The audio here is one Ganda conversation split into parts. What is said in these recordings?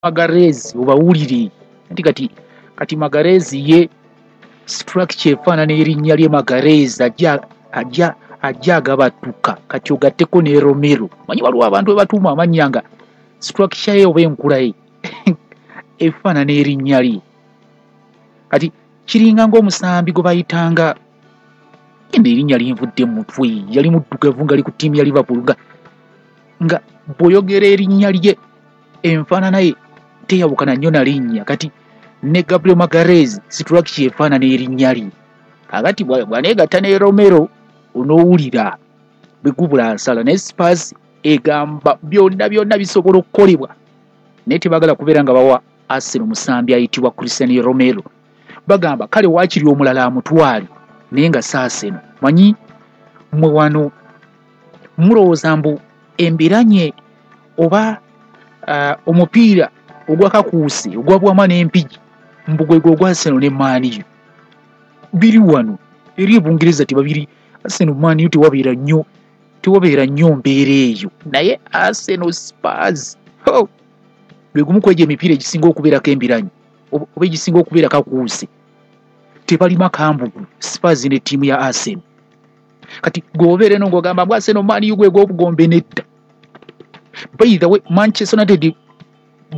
Magalhaes obawulire nti kati Magalhaes ye structure efaanana erinnya lye Magalhaes, ajja agabatuka. Kati ogatteko ne Romero. Manyi waliwo abantu bebatuuma amannya nga structure ye oba enkula ye efaanana erinnya lye. Kati kiringa ng'omusambi gwe bayitanga, eno erinnya linvudde mu mutwe, yali muddugavu nga ali ku ttiimu ya Liverpool, nga bw'oyogera erinnya lye enfaanana ye teyawukana nnyo na linnya. Kati ne Gabriel Magalhaes structure efaanana erinnya lye. Kakati bw'aneegatta ne Romero onoowulira bwe gubula nsala. Naye Spurs egamba byonna byonna bisobola okukolebwa, naye tebaagala kubeera nga bawa Arsenal musambi ayitibwa Christian Romero. Bagamba kale waakiri omulala amutwale, naye nga si Arsenal. Manyi mmwe wano mulowooza mbu embiranye oba omupiira ogwakakuuse ogwa Bwama n'Empigi mbu gwe gwe ogwa Arsenal ne Man U. Biri wano eri e Bungereza tebabiri. Arsenal Man U tewabeera nnyo mbeera eyo, naye Arsenal Spurs, ho, gwe gumu ku egyo emipiira egisinga okubeerako embiranyi oba egisinga okubeera kakuuse. Tebalima kambugu Spurs ne ttiimu ya Arsenal. Kati gweobeera eno ng'ogamba mbu Arsenal Man U gwe gw'obugombe, nedda. By the way, Manchester United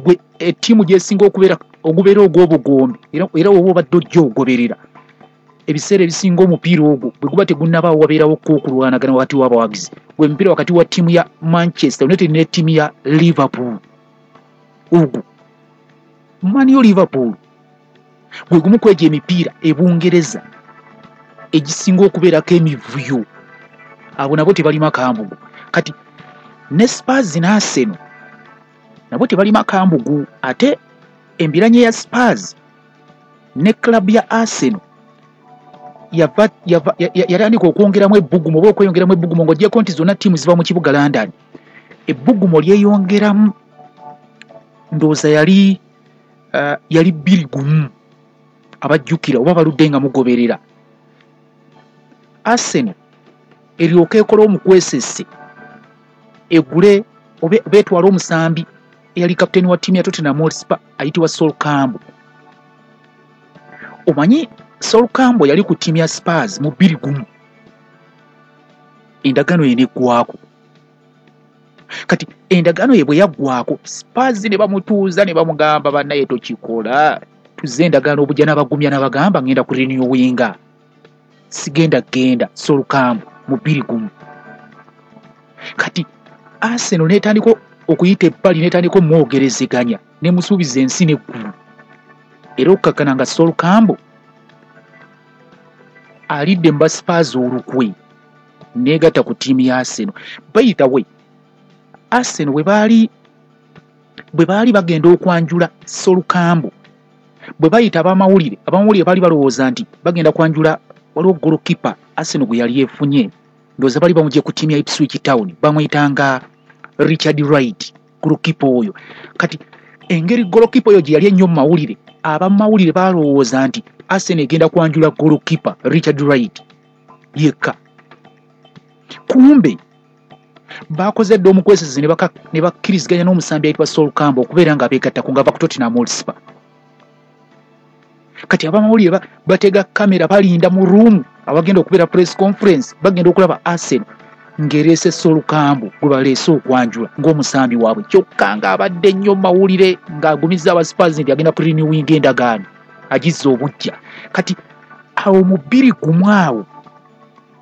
gwe ettiimu gyesinga okubeera ogubeera ogw'obugombe, era woba obadde ojja ogoberera ebiseera ebisinga omupiira ogwo bwe guba tegunnabaawo wabeerawo ko okulwanagana wakati w'abawagizi. Gwe mupiira wakati wa ttiimu ya Manchester United ne ttiimu ya Liverpool. Ogwo Man U Liverpool gwe gumu ku egyo emipiira ebungereza egisinga okubeerako emivuyo. Abo nabo tebalima kambugu. Kati ne Spurs ne Arsenal nabo tebalima kambugu. Ate embiranye ya Spurs ne club ya Arsenal yatandika okwongeramu ebbugumu oba okweyongeramu ebbugumu, ng'oggyeko nti zonna ttiimu ziva mu kibuga London. Ebbugumu lyeyongeramu ndowooza yali 2001. Abajjukira oba baludde nga mugoberera, Arsenal eryoka ekola omukwesese egule oba etwale omusambi eyali kapiteeni wa ttiimu ya Tottenham Hotspur ayitibwa Sol Campbell. Omanyi Sol Campbell yali ku ttiimu ya Spurs mu 2001, endagaano ye neggwako. Kati endagaano ye bwe yaggwako, Spurs ne bamutuuza ne bamugamba, "Bannaye, tokikola, tuzze endagaano obujja." N'abagumya n'abagamba, "Ngenda ku renewinga, sigenda genda." Sol Campbell mu 2001. Kati Arsenal netandika okuyita ebbali, netandika omwogerezeganya, nemusuubiza ensi n'eggulu, era okukakkana nga Sol Campbell alidde mu ba Spurs olukwe negatta ku ttiimu ya Arsenal. By the way, Arsenal bwe baali bagenda okwanjula Sol Campbell, bwe bayita abamawulire, abamawulire baali balowooza nti bagenda kwanjula waliwo goalkeeper Arsenal gwe yali efunye, ndowooza bali bamugye ku ttiimu ya Ipswich Town, bamwyitanga Richard Wright, goalkeeper oyo. Kati engeri goalkeeper oyo gye yali ennyo mu mawulire, abamawulire balowooza nti Arsenal egenda kwanjula goalkeeper Richard Wright yekka. Kumbe bakoze dda omukwesezi ne bakkiriziganya n'omusambi ayitibwa Sol Campbell okubeera nga abeegattako nga ava ku Tottenham Hotspur. Kati abamawulire batega kamera, balinda mu room awagenda okubeera press conference. Bagenda okulaba Arsenal ng'ereese Sol Campbell gwe baleese okwanjula ng'omusambi waabwe, kyokka ng'abadde nnyo mu mawulire ng'agumiza aba Spurs nti agenda ku renewinga endagaano agizza obujja. Kati awo mu 2001 awo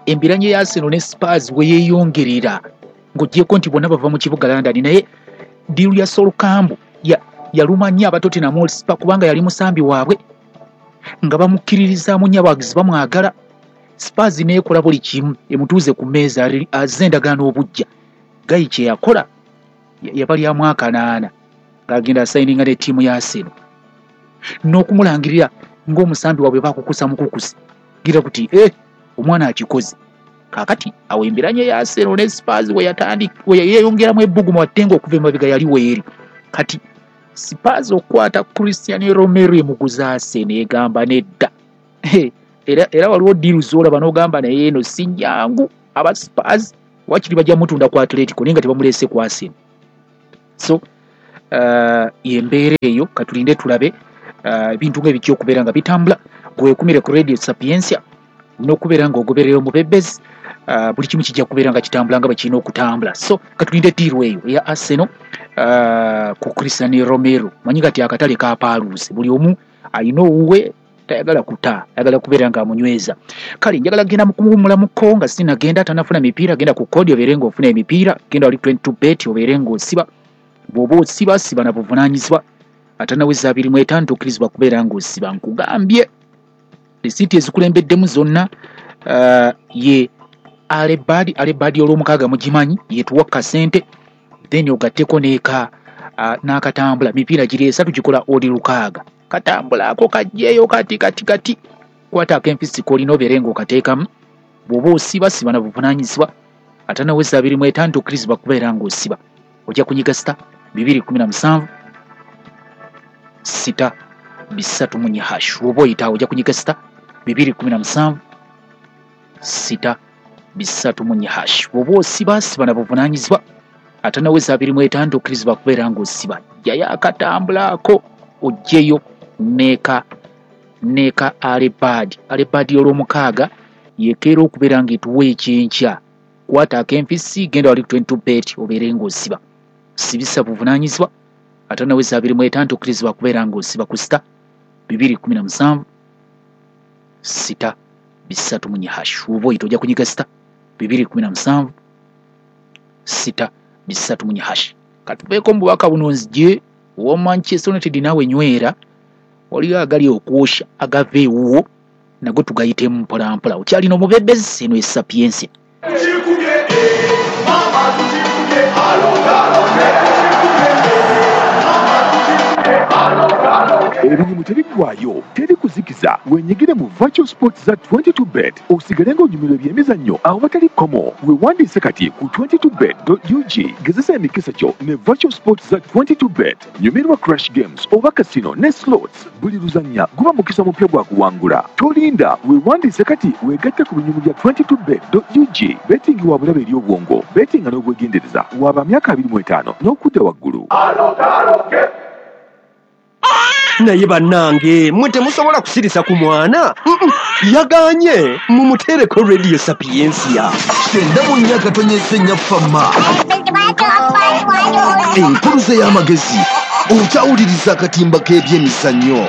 embiranye ya Arsenal ne Spurs we yeeyongerera, ng'oggyeko nti bonna bava mu kibuga London, naye deal ya Sol Campbell yaluma nnyo aba Tottenham Hotspur kubanga yali musambi waabwe nga bamukkiririzaamu nnyo, abawagizi bamwagala. Spurs neekola buli kimu emutuuze ku mmeeza azze endagaano obujja. Guy kye yakola yabalyamu akanaana ng'agenda asayininga ne ttiimu ya Arsenal n'okumulangirira ng'omusambi waabwe bakukusa mukukusi gira kuti omwana akikoze. Kaakati awo embiranye ya Arsenal ne Spurs we yeeyongeramu ebbugumu, ate ng'okuva emabega yali weeri. Kati Spurs okukwata Christian Romero emuguza Arsenal, egamba nedda. Era waliwo deal z'olaba n'ogamba naye eno si nnyangu. Aba Spurs wakiri bajja mutunda ku Atletico, naye nga tebamuleese ku Arsenal. So Yembeera eyo, katulinde tulabe ebintu nga ebijja okubeera nga bitambula. Gwekumire ku Radio Sapientia n'okubeera ng'ogoberera omubebezi, buli kimu kijja kubeera nga kitambula nga bwe kirina okutambula. So katulinde deal eyo eya Arsenal ku Cristian Romero. Manyi kati akatale kapaaluuse, buli omu alina owuwe, tayagala kuta, ayagala kubeera nga amunyweza. Kale njagala genda mukuwummulamuko nga sinagenda tanafuna mipiira. Genda ku kodi obeere ng'ofuna emipiira, genda wali 22 bet obeere ng'osiba. Bw'oba osiba, siba na buvunaanyizibwa. Atanaweza 25 tokkirizibwa kubeera ng'osiba. Nkugambye risiiti ezikulembeddemu zonna ye alebadi alebadi olwomukaaga mugimanyi, yetuwa kasente, then ogatteko neeka n'akatambula. Mipiira giri esatu gikola oli 6. Katambulako kajjeeyo kati kati kati. Kwata akenfisi k'olina obeere ng'okateekamu. Bw'oba osiba, siba na buvunaanyizibwa. Atanaweza 25 tokkirizibwa kubeera ng'osiba. Ojja kunyiga sita 217 6 3 hash. Bw'oba oyitaawo ojja kunyiga sita 217 6 3 hash. Bw'oba osiba, siba na buvunaanyizibwa. Atanaweza 25 tokkirizibwa kubeera ng'osiba. Jjayo akatambulako ojjeyo neeka neeka alebadi alebadi olwomukaaga yekeera okubeera ng'etuwa ekyenkya. Kwata akenfisi, genda wali 22 bet obeere ng'osiba. Sibisa buvunaanyizibwa. Atanaweza 25 tokkirizibwa kubeera ng'osiba ku sita 217 6 3 hash. Oba oyita ojja kunyiga sita 217 6 3 hash. Katuveeko mu bubaka buno nzije owa Manchester United. Naawe nywera, waliyo agali okwosha agava ewuwo, nago tugayitemu mpolampola. Okyalina omubebezi, eno esapiensia. Ebinyumu tebiggwayo, teri kuzikiza. Wenyigire mu virtual sports za 22 bet, osigale ng'onyumirwa ebyemizannyo awatali kkomo. Weewandiise kati ku 22bet.ug. Gezesa emikisa gyo ne virtual sports za 22 bet. Nyumirwa crash games oba casino ne slots. Buli luzannya guba mukisa mupya gwa kuwangula. Tolinda, weewandiise kati, weegatte ku binyumu bya 22bet.ug. Betting wa bulabe eri obwongo. Bettinga n'obwegendereza. Waba myaka 25 n'okudda waggulu. Naye bannange, mwe temusobola kusirisa ku mwana. Yaganye mumuteereko Radio Sapientia. 94.4 Fama, enkuluze y'amagezi. Okyawuliriza akatimba k'ebyemizannyo.